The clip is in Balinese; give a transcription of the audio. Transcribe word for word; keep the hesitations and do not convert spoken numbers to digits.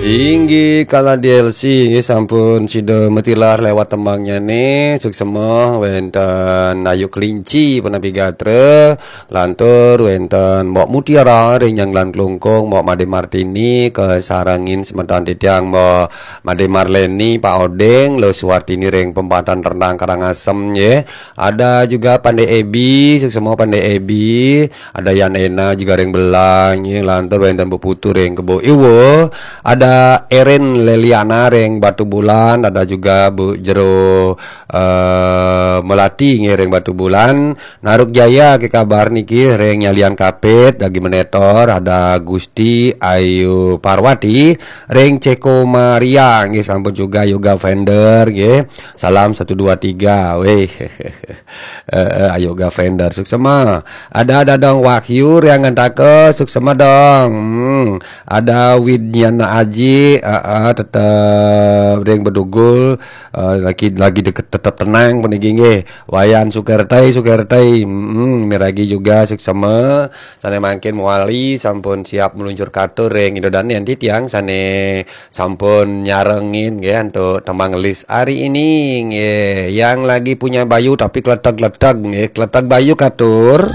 Inggih kala D L C, inggih sampun sida matilar lewat tembangnya nih. Suksema wenten Ayu Kelinci, Penapi Gatra, lantur wenten Mbok Mutiara ring Nyanglan Klungkung, Mbok Made Martini, kasarengin semeton titiang Mbok Made Marleni, Pak Oding, Lo Suwartini ring Pempatan Rendang Karangasem, nggih. Ada juga Pande Ebi, suksema Pande Ebi. Ada Yan Ena juga ring Belang, nggih, lantur wenten Bu Putu ring Kebo Iwa. Ada Erin Leliana ring Batu Bulan, ada juga Bu Jero eh, Melati nggih ring Batu Bulan. Naruk Jaya ke kabar niki ring Nyalian Kapit, Dagi Menetor, ada Gusti Ayu Parwati ring Ceko Maria nggih, sampun juga Yoga Fender nggih. Salam satu dua tiga. Weh. Eh, eh, Ayu Gavender, suksema. Ada Dadang Wahyu ring Ngantaka, suksema dong. Hmm. Ada Widnyana Aji, eh, eh, tetep ring Bedugul, eh, lagi lagi deket tetep tenang puniki nggih. Wayan Sukertai, Sukertai. Hmm, miragi juga suksema. Sane mangkin mawali sampun siap meluncur katur ring Ida Dane, enti tiang sane sampun nyarengin nggih antuk tembang list hari ini nggih. Yang lagi punya bayu tapi kletek-kletek nggih, kletek bayu katur.